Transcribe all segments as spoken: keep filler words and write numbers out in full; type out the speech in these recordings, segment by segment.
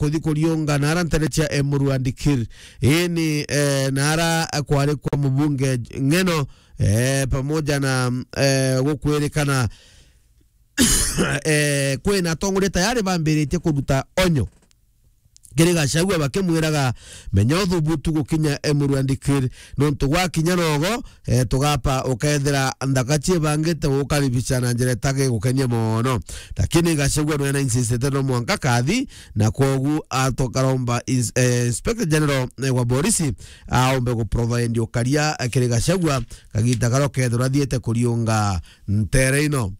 kuthi kuriunga nara ntere cia Emuru and Kir. Ii ni, eh, nara kwari kwa mubunge Ng'eno, eh, pamoja na, eh, gukwirikana, eh, kwina atongoria tayari bambiritie kuruta onyo kiri Gachagua bakimwiraga, "Menya uthubutu gukinya Emuru and Kir, nontu gwakinya nogo, eh, tugapa ukethira nthaka ciibangite gukaribisha na njira itagigukenia mono." Lakini Gachagua nwena insistete no mwanka kathi, na kwogu atokaromba ins-, eh, Inspector General, eh, wa borisi aombe guprovide ukaria, eh, kiri Gachagua kagita karia ukethirwa athiite kuriunga ntere ino.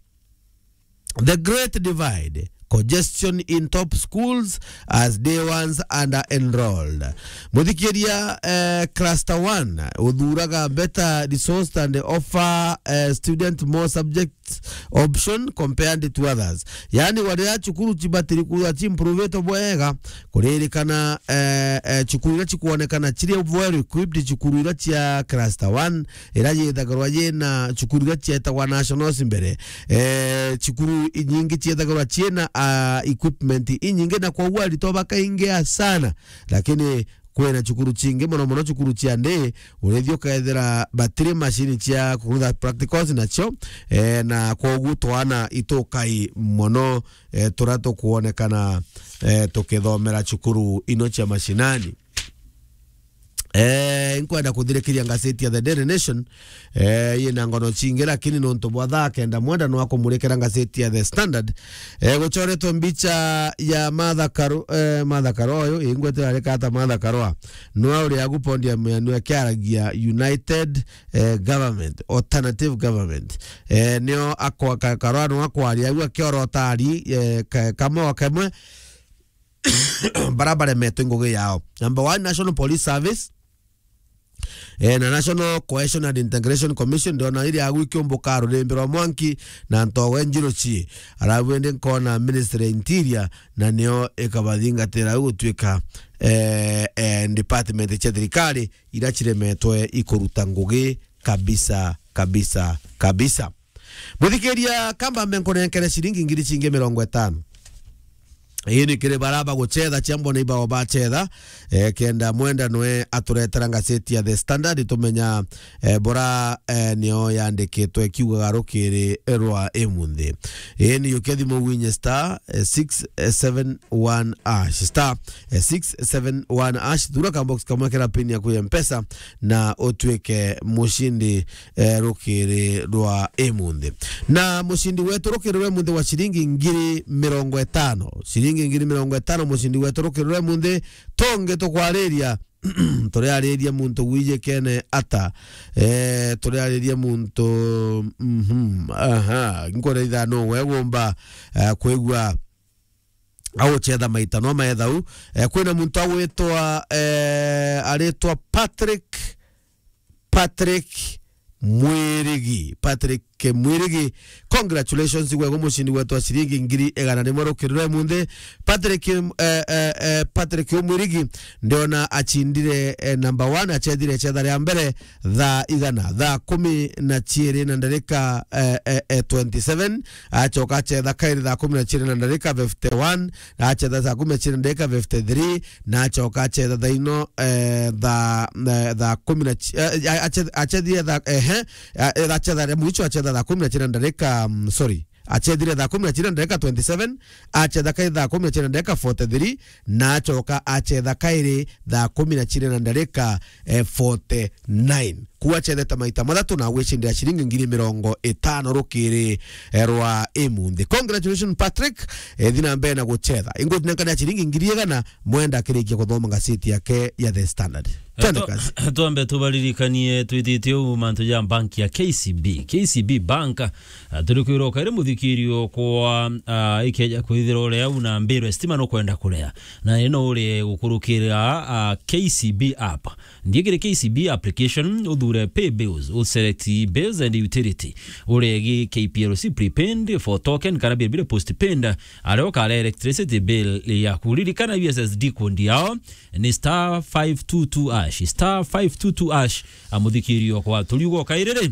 The Great Divide, congestion in top schools as day ones under enrolled. Muthikiria, eh, cluster one, uthuraga better resourced and offer, eh, student more subject option compared to others. Yaani, waria cukuru cibatiri kuya ciimprovitwe bwega, kuririkana, eh, eh, cukuru iria cikwonekana ciri well equipped, cukuru iria cia cluster one, iria yithagirwa yina cukuru iria cietagwa nationals mbere. Eh, cukuru inyingi ciethagirwa ciina, ah, equipment inyingi, na kwoguo aritwa bakaingia sana, lakini kwina cukuru cingi, mono mono cukuru cia ndi, urithia ukethira batiri macini cia kurutha practicals nacio, eh, na kwoguo twana itukai mono, eh, turia tukwonekana, eh, tukithomera cukuru ino cia mashinani. Eh, nkwenda kuthirikiria ngazeti ya The Daily Nation, eh, yina ngono cingi, lakini nontu bwa thaa kenda mwenda nwa kumurikira ngazeti ya The Standard. Eh, gucoretwe mbicha ya Martha Karu-, eh, Martha Karua uyu, ingwete arika ata Martha Karua. Nwa uri agu podium ya nwa kiaragia United, eh, Government, Alternative Government. Eh, nio akwa-, ka-, Karua nwa akwaria agu akiorota ari, eh, ka-, kamwe o kamwe. Bara baremetwe ngugi yao. Number one, National Police Service, eh, na National Cohesion and Integration Commission, ndiona iria agu ikiumbuka rurimbi rwa mwanki na ntogo njiru ci. Arabu indi nkona Ministry ya Interior, na nio ikabathingatira au gutuika, eh, eh, department cia thirikari iria ciremetwe ikuruta ngugi kabisa, kabisa, kabisa. Muthikiria, kamba mbe nkunenkere ciringi ngiri cingi mirongo itano. Ii ni kiri bara bagucetha, cia mbona ibao bacetha, eh, kenda mwenda nwe aturetera ngazeti ya The Standard, tumenya, eh, bora, eh, nio yandikitwe ikiugaga rukiri rwa imunthi. Ii ni yukia thimu winye star, eh, six seven one hash, star, eh, six seven one hash, thura ka box kamwe kera pin yaku ya Mpesa, na utuike mucindi, eh, rukiri rwa imunthi. Na mucindi wetu rukiri rwa imunthi wa ciringi ngiri mirongo itano. Ciringi ngiri mirongo itano mucindi wetu rukiri rwa imunthi. Tonge tukwariria, turiariria muntu gwijikene ata? Eh, turiariria muntu, mhm, aha, nkuria ithano we gumba, eh, kwigua agucetha maita no maethau. Eh, kwina muntu agwitwa, eh, aritwa Patrick, Patrick Mwirigi. Patrick Mwirigi, congratulations, gwegwa mucindi wetu wa ciringi ngiri igana rimwe rukiri rwa imunthi. Patrick, eh, eh, eh, Patrick Mwirigi, ndiona acindire, eh, number one, acethire cetha ria mbere, thaa igana, thaa kumi na ciiri na ndarika, eh, eh, eh, twenty-seven, acoka acetha kairi thaa kumi na ciiri na ndarika fifty-one, na acetha thaa kumi na ciiri na ndarika fifty-three, na acoka acetha thaa ino, eh, thaa, eh, thaa kumi na ci-, eh, eh, ace-, acethire thaa, ehe, eh, eh, acetha ria mwicho acetha thaa kumi na ciiri na ndarika, mm, sorry, acethire thaa kumi na ciiri na ndarika twenty-seven, acetha kairi thaa kumi na ciiri na ndarika forty-three, na acoka acetha kairi thaa kumi na ciiri na ndarika, eh, forty-nine. Kuu acethete maita mathatu na agwicindira ciringi ngiri mirongo itano rukiri, eh, rwa imunthi. Congratulations, Patrick. Eh, thi na mbere na gucetha. Ingutinenkania ciringi ngiri igana, mwenda akirikia kuthoma ngazeti yake ya The Standard. Twende kazi. Twambe tubaririkanie twititie u mantu ja bank ya K C B. K C B Bank, ah, turi kwirwo kairi muthikirio kwa, ah, ikeja kwithira uria u na mbiru ya stima nukwenda kuria. Na ino uri gukurukira, ah, K C B app. Nthie kiri K C B application, uthu ure pay bills, u select bills and utility. Uregi K P L C prepaid for token kana bill bire postpaid, aria ukare electricity bill yaku. Ririkana U S S D code yao ni star five two two hash, star five two two hash. Amuthikirio kwa turiugo kairiri.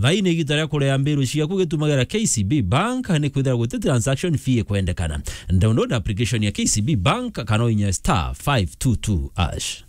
Thaini igita ria kurea mbiru ciaku gitumagira K C B Bank ni kwithira guti transaction fee ikwendekana. Download application ya K C B Bank kana uinya star five two two hash.